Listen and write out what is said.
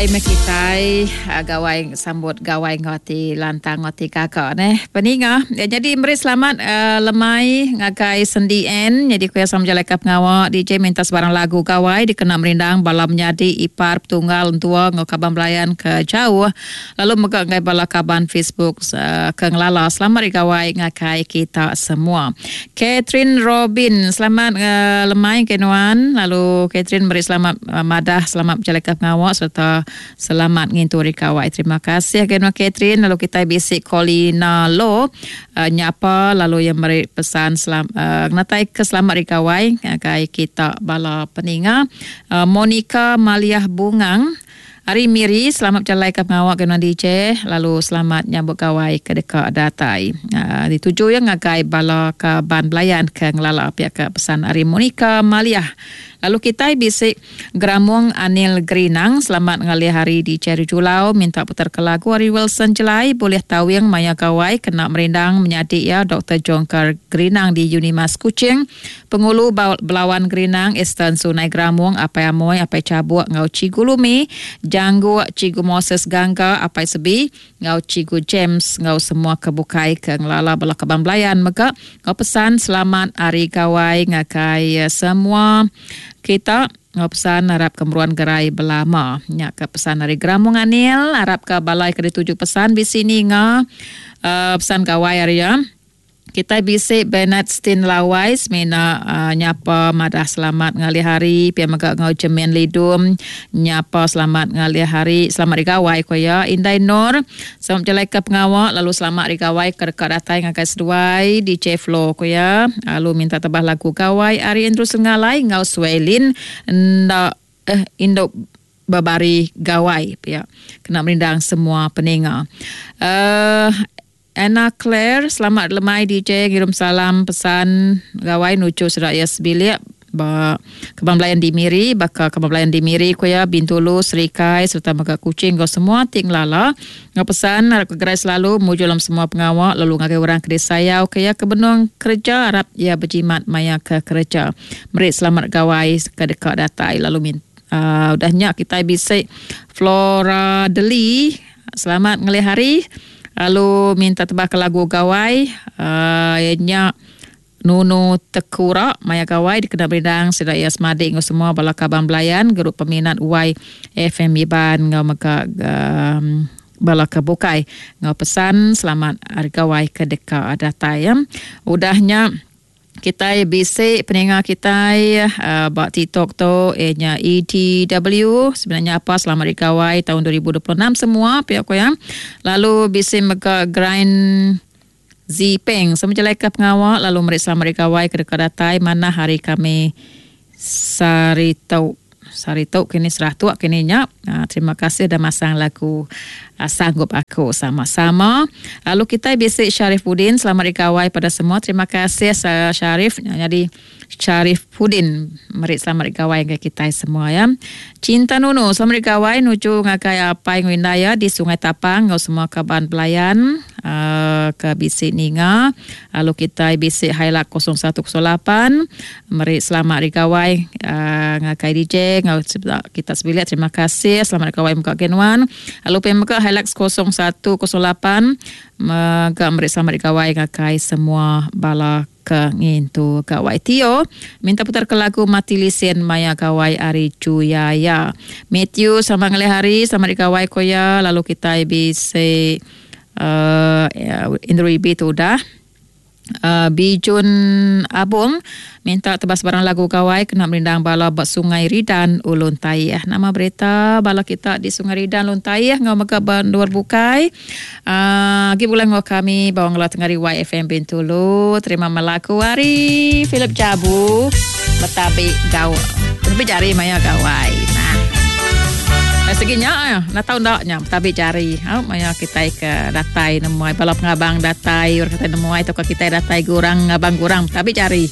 Meh kitai gawai sambut gawai enggau ati lantang enggau ati gaga neh peninga. Nyadi meri selamat lemai ngagai Sendi Ann nyadi ku iya sama bejalaika pengawa DJ minta sebarang lagu gawai dikena merindang bala menyadi ipar petunggal entua enggau kaban belayan ke jauh lalu mega ngagai bala kaban Facebook ke ngelala selamat hari gawai ngagai kita semua. Catherine Robin, selamat lemai ke nuan lalu Catherine meri selamat madah selamat bejalaika pengawa sereta selamat ngintu hari gawai. Terima kasih ke nuan Catherine lalu kitai bisi Colina Lo nyapa lalu iya meri pesan ngenatai ke selamat hari gawai ngagai kita bala peninga. Monica Maliah Bungang. Ari Miri, selamat bejalai ka pengawa ke nuan DJ lalu selamat nyambut gawai ke deka datai. Dituju iya ngagai bala kaban belayan ke ngelala pia ka pesan ari Monica Maliah. Lalu kitai bisi Geramung Anil Gerinang, selamat ngalih hari DJ ari Julau minta putar ke lagu ari Wilson Jelai bulih tawing maya gawai kena merindang menyadi iya Doktor Jongkar Gerinang di Unimas Kuching. Pengulu Belawan Gerinang, Eastern Sunai Geramung, Apai Amoi, Apai Chabuk enggau Chigu Lumi, Jangguk, Chigu Moses Gangga, Apai Sebi enggau Chigu James enggau semua ke bukai ke ngelala bala kaban belayan mega enggau pesan selamat Hari Gawai ngagai semua kita enggau pesan arap ke meruan gerai belama. Nya ke pesan ari Geramung Anil, arap ke balai ke dituju pesan bisi ninga pesan gawai ari iya. Kitai bisi Bernard Stin Lawai semina nyapa madah selamat ngalih hari pia mega enggau Jemin Lidum nyapa selamat ngalih hari selamat hari gawai ku iya. Indai Nor selamat bejalaika pengawa lalu selamat hari gawai ke deka datai ngagai seduai DJ Flo ku iya lalu minta tebah lagu gawai ari Andrew Sengalai enggau Swaylin enda eh indu bebari gawai pia kena merindang semua peninga. Uhh. Anna Claire, selamat lemai DJ ngirum salam pesan gawai nuju sida iya sebilik ba Kaban Belayan di Miri baka Kaban Belayan di Miri ku iya Bintulu, Serikai sereta mega Kuching enggau semua ti ngelala enggau pesan arap ke gerai selalu mujur dalam semua pengawa lalu ngagai orang ke disayau ke iya ke benung kereja arap iya bejimat maya ke kereja. Meri selamat gawai ke deka datai lalu uhh udah nya kitai bisi Flora Deli. Selamat ngelih hari lalu minta tebah ke lagu gawai uhh iya nya Nunu Tekura maya gawai dikena berindang sida iya semadi enggau semua bala kaban belayan gerup peminat Y FM Iban enggau mega uhh bala ke bukai enggau pesan selamat hari gawai ke deka datai. Udah nya. Kitai bisi peninga kitai ba TikTok tu iya nya ETW sebenarnya apa selamat hari gawai taun 2026 semua pia ku iya. Lalu bisi mega Grind Zipeng sama jelaika pengawa lalu meri selamat hari gawai ke deka datai manah hari kami sehari tu. Sehari tu kini serah tu kini nya. Terima kasih dah masang lagu Sanggup Aku sama-sama. Lalu kitai bisi Sharif Udin selamat hari gawai pada semua. Terima kasih Sharif. Nyadi Sharif Udin meri selamat hari gawai ngagai kitai semua ya. Cinta Nunu selamat hari gawai nuju ngagai apai enggau indai iya di Sungai Tapang enggau semua kaban belayan ke bisi ninga. Lalu kitai bisi Hilux 0108. Meri selamat hari gawai ngagai DJ enggau kita sebilik terima kasih selamat hari gawai mega agi nuan. Lalu pia mega Hilux 0108 mega meri selamat hari gawai ngagai semua bala ke ngintu gawai. Tio minta putar ke lagu Mati Lisin maya gawai ari Juyaya. Matthew selamat ngalih hari selamat hari gawai ko iya lalu kitai bisi uhh Andrew Ibi tu udah. Bijun Abong minta tebas barang lagu gawai kena merindang bala ba Sungai Ridan Ulun Taih. Nama berita bala kita di Sungai Ridan Ulun Taih enggau mega ba endur bukai. Agi bulan enggau kami ba Wangla Tengari YFM Bintulu. Terima melaku ari Philip Jabu betabi gau. Betabi jari maya gawai. Nah. Segi nya enda tau enda nya betabi jari. Au maya kitai ke datai nemuai bala pengabang datai orang kitai nemuai tauka kitai datai gurang ngabang gurang betabi jari.